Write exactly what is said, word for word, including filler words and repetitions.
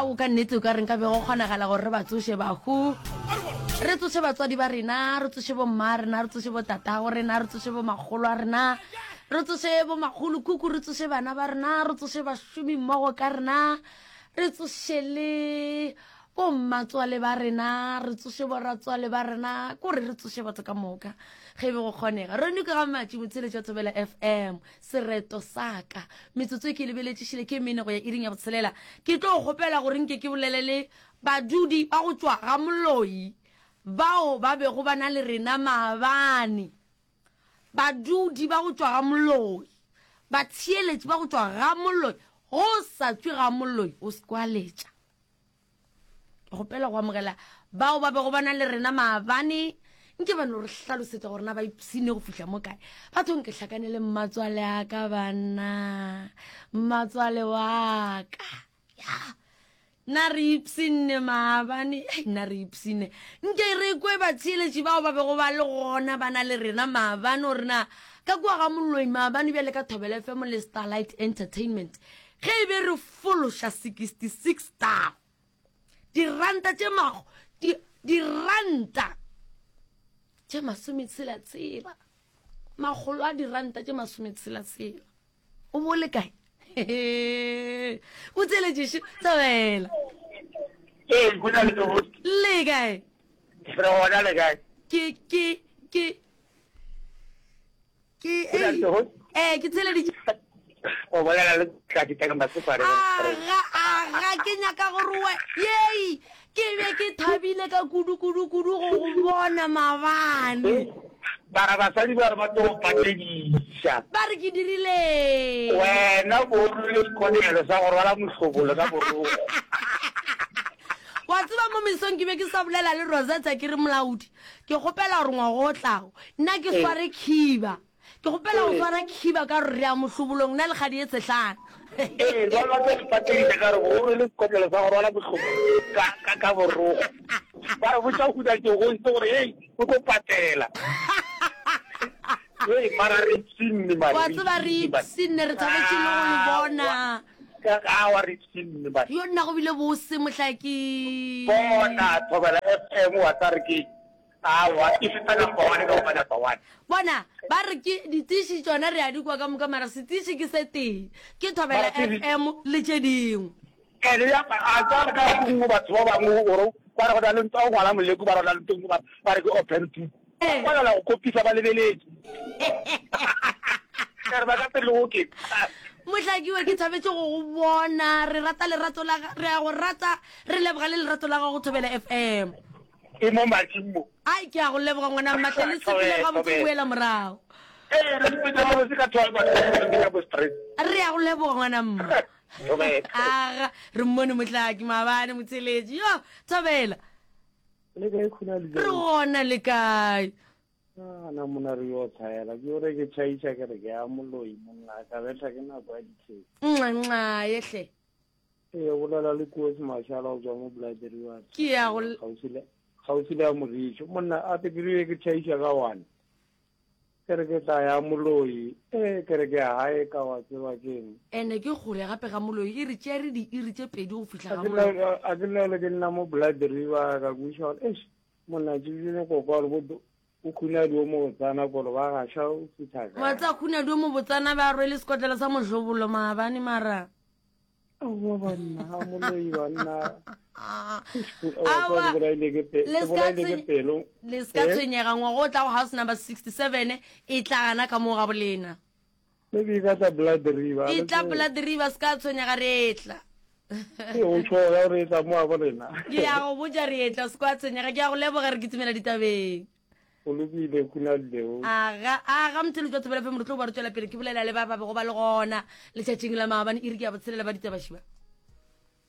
Bao ka nnete o ka reng ka be go kgonagala gore re ba tsoše bahu. Re tsoše batswadi ba rena, re tsoše bomma rena, re tsoše botatago rena, re tsoše bomakgolo a rena, re tsoše bomakgolokhukhu, re tsoše bana ba rena, re tsoše bašomi mmogo ka rena, re tsoše le bommatswale ba rena, re tsoše boratswale ba rena, kore re tsoše batho ka moka ge e be go kgonega. Rone ke ga Matši motsheletši wa Thobela F M, sereto sa ka. Metsotso e ke e lebeletšišile ke mene go ya iring ya botshelela. Ke tlo kgopela gore nke ke bolele le badudi ba go tšwa ga Moloi bao ba bego ba na le rena maabane. Badudi ba go tšwa ga Moloi, batheeletši ba go tšwa ga Moloi, go sa tšwe ga Moloi o se kwa letša. Ke kgopela go amogela bao ba bego ba na le rena maabane. Nke ba no re hlalosetša gore na ba ipshine go fihla mo kae. Batho nke hlakane le mmatswale a ka banna, mmatswale wa ka. Ya, na re ipshinne maabane, hei, na re ipshinne. Nke re kwe batheeletši bao ba bego ba le gona ba na le rena maabane gore na ka kua ga Moloi maabane bjale ka Thobela F M le Starlight Entertainment ge e be re fološa sixty-six star diranta tše mago, di, diranta tše masometshela-tshela, makgolo a diranta tše masometshela-tshela. O bo le kae? O tseletše Thobela. Ee, go na le tsogo. Le kae? Re gona le kae? Ke, ke, ke, ke, Go na le tsogo. eh, ke theleditše. O bolela le Tladi ka Masopare. Aga, aga, ke nyaka gore we, yei, ke be ke thabile ka kudu, kudu, kudu go go bona maabane. Bara basadi ba re ba tlo go patediša. Ba re ke dirile. Wena bo rwele sekotlelo sa go rwala mohlobolo ka borokgo. Wa tseba mo mesong ke be ke sa bolela le Rosetta ke re molaodi, ke kgopela gore ngwaga o tlago nna ke sware khiba. Ke kgopela go swara khiba ka gore re ya mohlobolong nna le kgadi e tshehlana. Ee, ba ba tlo go patediša ka gore o rwele sekotlelo sa go rwala mohlobolo ka, ka, ka borokgo. Ba re botša go huna tšogontse gore hei, o tlo patela. Hei, mara re ipshinne, mara Wa tseba re ipshinne, re thabetše le go le bona. Aowa, re ipshinne, mara. Yo nna go bile bose mohlaki. Bona, Thobela F M wa tla re ke aowa, e feta number one ka go ba number one. Bona, ba re ke ditiši tšona re a di kwa ka moka, mara setiši ke se tee, ke Thobela F M le tše dingwe. Ene ya ba a tswa ka nngwe batho ba bangwe gore ba re go na le ntwa go ngwala moleko ba re go na le ntwa ba ba re ke open book. Ba palela go kopisa ba lebeletše. Ka re ba ka pele go ke. Mohlakiwa ke thabetše go go bona, re rata lerato la re a go rata, re leboga le lerato la gago Thobela F M. E mo mading mo. Ai ke a go leboga ngwana mmatle le sepele gabotse boela morago. Ee, re sepele gabotse ka twelve ka bo stress. Re a go leboga ngwana mma. Aga, re mmone mohlaki maabane motheletši. Yo, Thobela. Le kae khuna le Re gona le kae? Ah, na mona re yo tshwaela. Ke ore ke tšhaiša ke re ke ya moloi monna ka betha ke nako ya ditheko. Nxa nxa yehle. Ee, bolela le Koos Mashala go tswa mo Blood River. Ke ya go gaufi le gaufi le ya Morišo. Monna a te ke rile ke tšhaiša ka one. Ke re ke tla ya moloi, ee ke re ke ya gae ka wa tseba ke eng. Ene ke kgole gape ga moloi, e re tšere diiri tše pedi go fihla ga moloi. A ke lele ke nna mo Blood River ka kweša gore eish monna ke bile go kwa gore bo o khunadi o mo botsana kolo ba gaša o fihla kae. Wa tseba khunadi o mo botsana ba rwele sekotlelo sa mohlobolo maabane mara. Aowa banna, a moloi banna. Aowa, le se ka tshwenyega ngwaga o tlago house number sixty-seven e tla gana ka moo ga bolena. Maybe e ka tla Blood River. E tla Blood River, se ka tshwenyega re etla. Ee, o tšhoga gore e tla mo ga bolena. Ke ya go botša re etla, se ka tshwenyega. Ke ya go leboga re kitimela ditabeng. O lokile khuna leo. Aga, aga motho jwa Thobela F M re tlo ba re tšwela pele ke bolela le ba ba bego ba le gona letšatšing la maabane iri ke ya botshelela ba ditabašiba.